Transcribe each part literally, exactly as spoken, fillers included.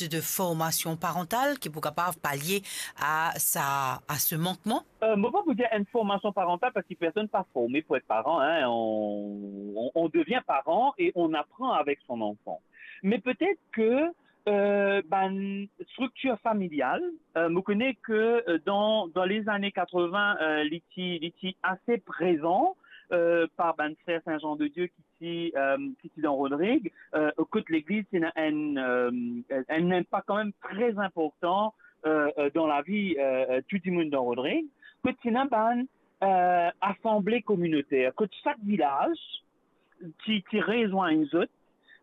de formasion parantal ki pou kapav palie a sa, a se mankman? Euh, mo pa pou dir enn formasion parantal parski personn pa forme pou et paran, hein. On, on, on devient parent et on apprend avec son enfant. Mais peut-être que euh, bann striktir familial, euh, mo kone ke euh, dan, dan lezane katrevin, euh, li ti, li ti ase prezan euh, par bann frer Saint Jean de Dieu ki ti, euh, ki ti dan Rodrig, euh, kot legliz ti ena enn, euh, enn inpak kanmem tre inportan euh, euh, dan lavi euh, euh, tou dimoun dan Rodrig, kot ti ena bann euh, asanble kominoter, kot sak vilaz ti, ti rezwenn zot,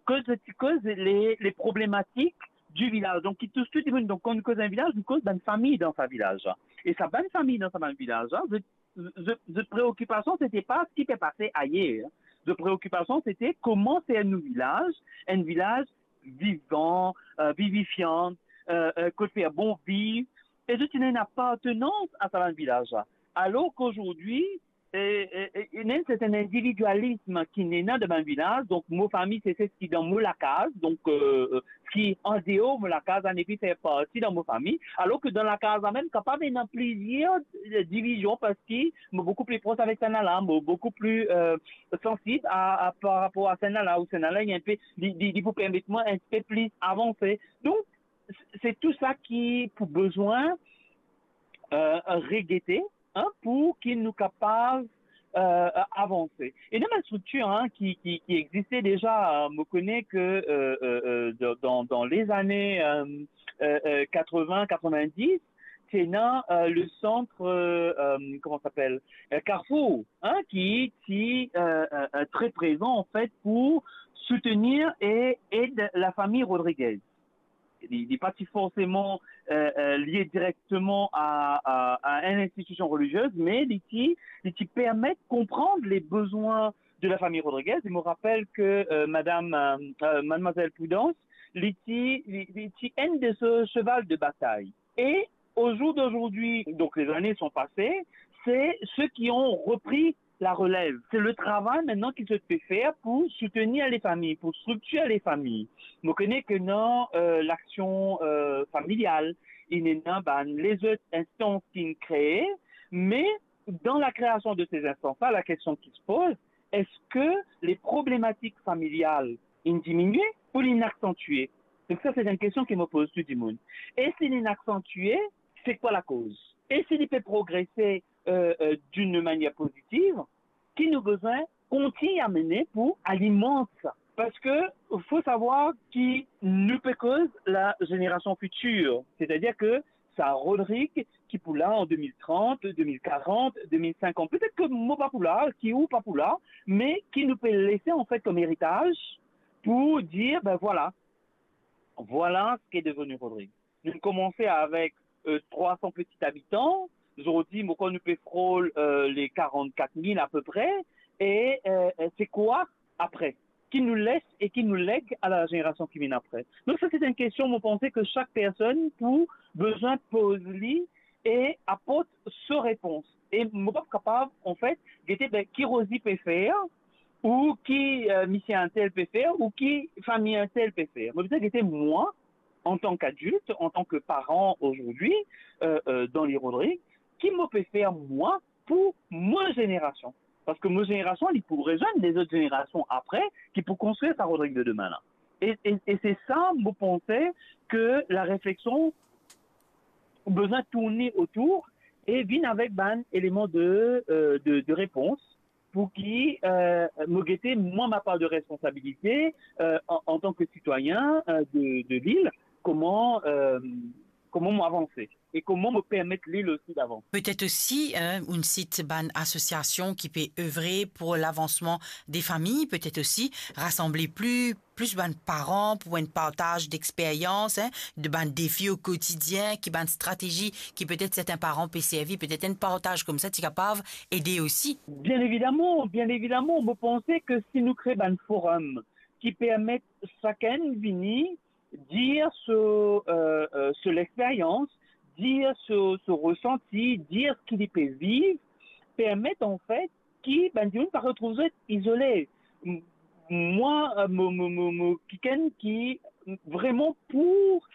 kot zot ti koz le, le problematik di vilaz. Donk, ki tous tou dimoun. Donk, kan nou koz enn vilaz, nou koz bann fami dan sa vilaz la. E sa bann fami dan sa bann vilaz la, zot, zot, zot preokipasion, se ti pa seki pe pase ayer. Zot preokipasion, se ti kouma fer nou vilaz enn vilaz vivan, euh, vivifian, euh, euh, kot fer bon viv. E zot ti ena enn apartenans a sa bann vilaz la. Alor ki azordi, e, e, e, e ena enn serten individialism ki ena dan bann vilaz. Donk, mo fami, se, se seki dan mo lakaz. Donk, euh, seki andeor mo lakaz, la nepli fer parti dan mo fami. Alor ki dan lakaz la mem, kapav ena plizier euh, divizion, parski mo boukou pli pros avek sannla, mo boukou pli euh, sansib a, a, par rapor a sannla, ou sannla, li enn pe, li, li, li pou permet mwa enn pe plis avanse. Donk, se, se tou sa ki pou bizin euh, regete, hein, pou ki nou kapav euh, avanse. E ena bann striktir hein, ki, ki, ki existe deza. Euh, mo kone ke euh, euh, euh, dan, dan, dan lezane euh, euh, euh, katrevin, katrovindis, ti ena euh, le sant euh, euh, comment s'appelle euh, Carrefour, hein, ki, ki euh, euh, euh, tre prezan, an fet, pou soutenir e ed lafami Rodriguez. Li, li pa ti forseman euh, euh, lie direkteman a, a, a enn institision reliziez, me li ti, li ti permet konprann le bizin de lafami Rodriguez. E mo rapel ke euh, madam, euh, euh, madmwazel Prudence, li ti, li, li ti enn de se cheval de batay. E au jour d'aujourd'hui, donc les années sont passées, c'est ceux qui ont repris la relève. C'est le travail maintenant ki zot pe fer pou soutenir lafami, pou striktir lafami. Mo kone ke ena euh, laksion euh, familial, ena bann lezot instans ki kree, me dan lakreasion de se instans la, la kestion ki se poz, eski le problematik familial inn diminie ou li inn aksantie? Donk sa, se enn kestion ki mo poz tou dimoun. E si li inn aksantie, se kwa lakoz? E si li pe progrese euh, euh, d'une manière positive, ki nou bizin kontign amene pou alimant sa? Parski fo savwar ki nou pe koz la zenerasion fitir, setadir ke sa Rodrig ki pou la an de mil trant, de mil karant, de mil sinkant, petet ke mo pa pou la, ki ou pa pou la, me ki nou pe lese an fet kom eritaz pou dir, ben vwala, vwala seki deveni Rodrig. Nou koumans avek euh, trwa san peti abitan. Zordi, mo krwar nou pe frol euh, le karant-kat mil apepre. E euh, se kwa apre? Ki nou les e ki nou leg a la zenerasion ki vinn apre? Donk sa, se enn kestion, mo panse ke sak personn pou bizin poz li e aport so repons. E mo pa kapav, an fet, gete, ben, ki Rosie pe fer, ou ki euh, misie intel pe fer, ou ki fami intel pe fer. Mo bizin gete mwa, antan ki adilt, antan ki paran azordi, euh, euh, dan le Rodrig, ki mo pe fer mwa pou mo zenerasion. Parski mo zenerasion, li pou rezwenn lezot zenerasion apre, ki pou konstrir sa Rodrig de demin la. E, e, e se sa, mo panse ke la refleksion bizin tourne otour e vinn avek bann eleman de, euh, de, de repons pou ki euh, mo gete mwa ma par de responsabilite euh, an, antan ki sitwayin euh, de, de lil, kouma euh, kouma mo avanse e kouma mo permet lil osi davanse. Petet osi, hein, ou sit bann asosiasion ki pe evre pou lavansman de fami, petet osi rasanble pli plis bann paran pou enn partaz dexperyans, hein, de bann defi o kotidien, ki bann stratezi ki petet sertin paran pe servi, petet enn partaz koumsa ti kapav ede osi. Bien evidaman, bien evidaman, mo panse ke si nou kre bann forum ki permet sakenn vini dir so, euh, euh, so lexperyans, dir so, so resanti, dir ki li pe viv, permet an fet ki bann dimoun pa retrouv zot izole. M-, mwa, euh, mo, mo, mo, mo kikenn ki vraiment pour